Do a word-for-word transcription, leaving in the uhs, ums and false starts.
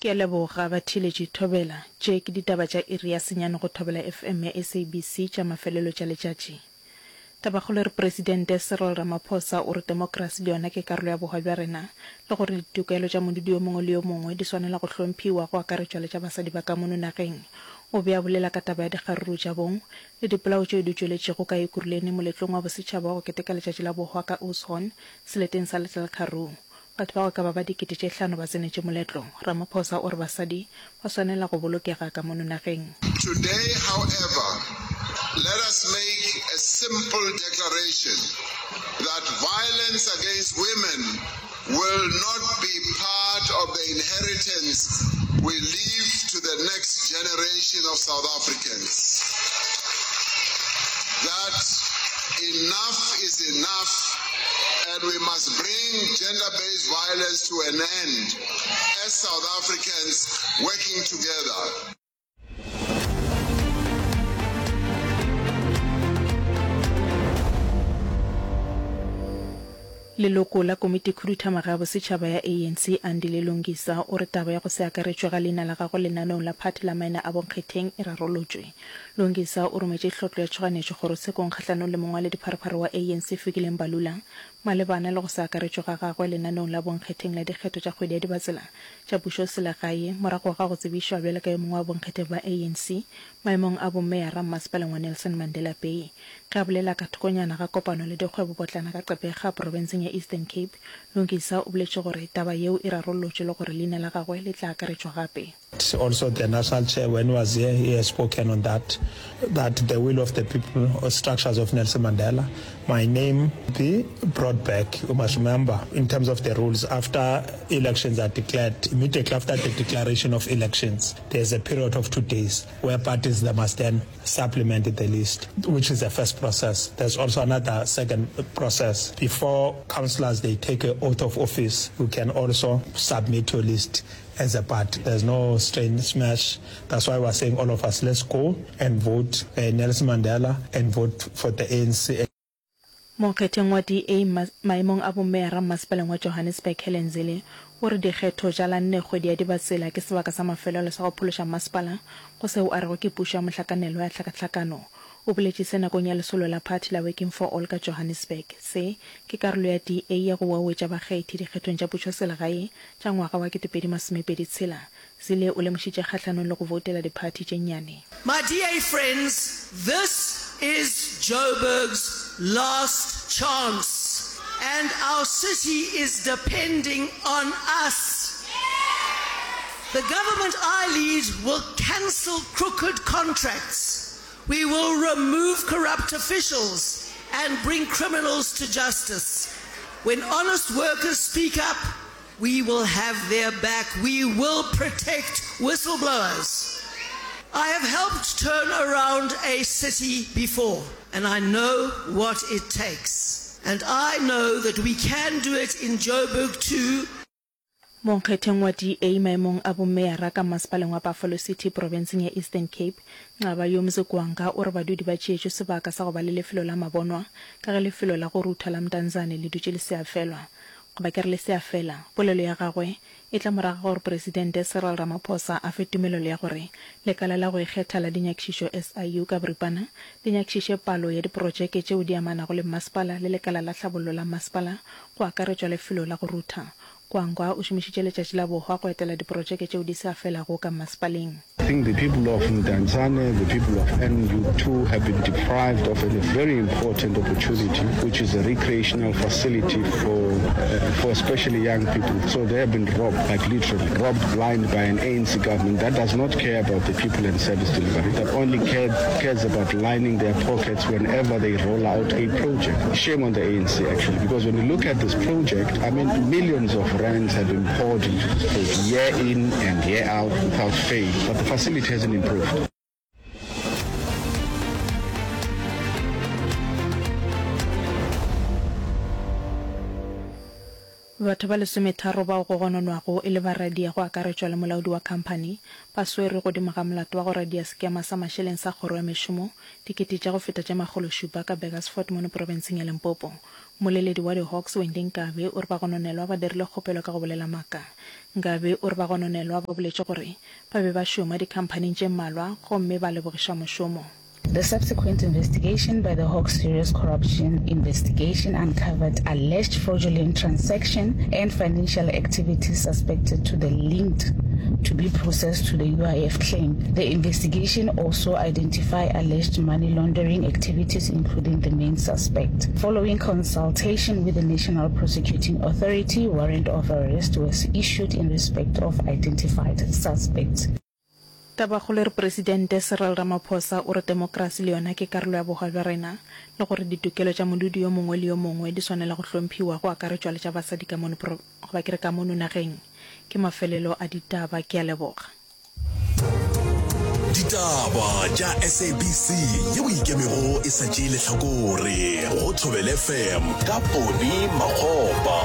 Ke a leboga batheeletši Thobela. Tše ke ditaba tša iri ya senyane go Thobela FM ya SABC tša mafelelo tša letšatši. Tabakgolo e re Presidente Cyril Ramaphosa o re temokrasi le yona ke karolo ya bohwa bja rena le gore ditokelo tša modudi yo mongwe le yo mongwe di swanela go hlomphiwa go akaretšwa le tša basadi ba ka mono nageng. O be a bolela ka taba ya dikgaruru tša bong le dipolao tšeo di tšweletšego ka Ekurhuleni moletlong wa bosetšhaba wa go keteka letšatši la bohwa ka Oudtshoorn seleteng sa Little Karoo. Batho ba go ka ba ba dikete tše hlano ba tsenetše moletlo. Ramaphosa o re basadi ba swanela go bolokega ka mono nageng. Today, however, let us make a simple declaration that violence against women will not be part of the inheritance we leave to the next generation of South Africans. That enough is enough and we must bring gender-based violence to an end as South Africans working together. Leloko la Komitikhuduthamaga ya Bosetšhaba ya ANC, Andile Lungisa, o re taba ya go se akaretšwe ga leina la gagwe lenaneong la phathi la maina a bonkgetheng e rarolotšwe. Lungisa o rometše tlhotlo ya tšhoganetšo kgorotshekong kgahlanong le mongwaledipharephare wa ANC Fikile Mbalula malebana le go se akaretšwe ga gagwe lenaneong la bonkgetheng la dikgetho tša kgwedi ya Dibatsela tša pušoselegae morago ga go tsebišwa bjalo ka yo mongwe wa bonkgetheng ba ANC maemong a bomeyara mmasepaleng wa Nelson Mandela Bay. Ge a bolela ka thokonyana ga kopano le dikgwebopotlana ka Gqeberha profenseng ya Eastern Cape, Lungisa o boletše gore taba yeo e rarollotšwe le gore leina la gagwe le tla akaretšwa gape. Also the national chair when he was here he has spoken on that, that the will of the people or structures of Nelson Mandela, my name be brought back. You must remember in terms of the rules after elections are declared, immediately after the declaration of elections there's a period of two days where parties they must then supplement the list, which is the first process. There's also another second process. Before councillors they take an oath of office, you can also submit your list as a party. There's no strange smash. That's why we're saying all of us, let's go and vote uh, Nelson Mandela and vote for the ANC. Monkgetheng wa DA maemong a bomeyara mmasepaleng wa Johannesburg Helen Zille o re dikgetho tša la nne kgwedi ya Dibatsela ke sebaka sa mafelelo sa go phološa mmasepala go seo a rego ke pušo ya mohlakanelwa ya tlhakatlhakano. O boletše se nakong ya lesolo la phathi la Working for All ka Johannesburg. Se ke karolo ya DA ya go wauwetša bakgethi dikgethong tša pušoselegae tša ngwaga wa ketepedi masomepedi tshela. Zille o lemošitše kgahlanong le go voutela diphathi tše nnyane. My DA friends, this is Joburg's last chance and our city is depending on us. The government I lead will cancel crooked contracts. We will remove corrupt officials and bring criminals to justice. When honest workers speak up, we will have their back. We will protect whistleblowers. I have helped turn around a city before, and I know what it takes. And I know that we can do it in Joburg too. Monkgetheng wa DA maemong a bomeyara ka mmasepaleng wa Buffalo City profenseng ya Eastern Cape, Nqaba Yomzi Gwanga o re badudi ba tšeetšwe sebaka sa go ba le lefelo la mabonwa ka ge lefelo la go rutha la Mdantsane le dutše le se a felwa goba ke re le se a fela. Polelo ya gagwe e tla morago ga gore Presidente Cyril Ramaphosa a fe tumelelo ya gore Lekala la go Ikgetha la Dinyakišišo, SIU, ka boripana le nyakišiše palo ya diprotšeke tšeo di amanago le mmasepala le lekala la tlhabollo la mmasepala go akaretšwa lefelo la go rutha. Gwangwa o šomišitše letšatši la bohwa go etela diprotšeke tšeo di sa felago ka mmasepaleng. I think the people of Mdantsane, the people of N U two have been deprived of a very important opportunity, which is a recreational facility for, uh, for especially young people. So they have been robbed, like literally robbed blind by an A N C government that does not care about the people and service delivery, that only care, cares about lining their pockets whenever they roll out a project. Shame on the A N C, actually, because when you look at this project, I mean, millions of rands have been poured into this project year in and year out without fail, but the facility hasn't improved. Batho ba lesometharo bao go gononwago e le baradia go akaretšwa le molaodi wa khamphani ba swerwe godimo ga molato wa go radia sekema sa mašeleng sa kgoro ya mešomo dikete tša go feta tše makgolo šupa ka Burgersfort mono profenseng ya Limpopo. Mmoleledi wa di-Hawks Wendy Nkabe o re bagononelwa ba dirile kgopelo ka go bolela maaka. Nkabe o re bagononelwa ba boletše gore ba be ba šoma dikhamphaning tše mmalwa gomme ba lebogišwa mošomo. The subsequent investigation by the Hawks Serious Corruption Investigation uncovered alleged fraudulent transaction and financial activities suspected to the linked to be processed to the U I F claim. The investigation also identified alleged money laundering activities including the main suspect. Following consultation with the National Prosecuting Authority, warrant of arrest was issued in respect of identified suspects. Tabakgolo e re Presidente Cyril Ramaphosa o re temokrasi le yona ke karolo ya bohwa bja rena le gore ditokelo tša modudi yo mongwe le yo mongwe di swanela go hlomphiwa go akaretšwa le tša basadi ka mono goba ke re ka mono nageng. Ke mafelelo a ditaba. Ke a leboga. Ditaba tša S A B C yeo ikemego e sa tšee lehlakore go Thobela F M ka Poni Makgopa.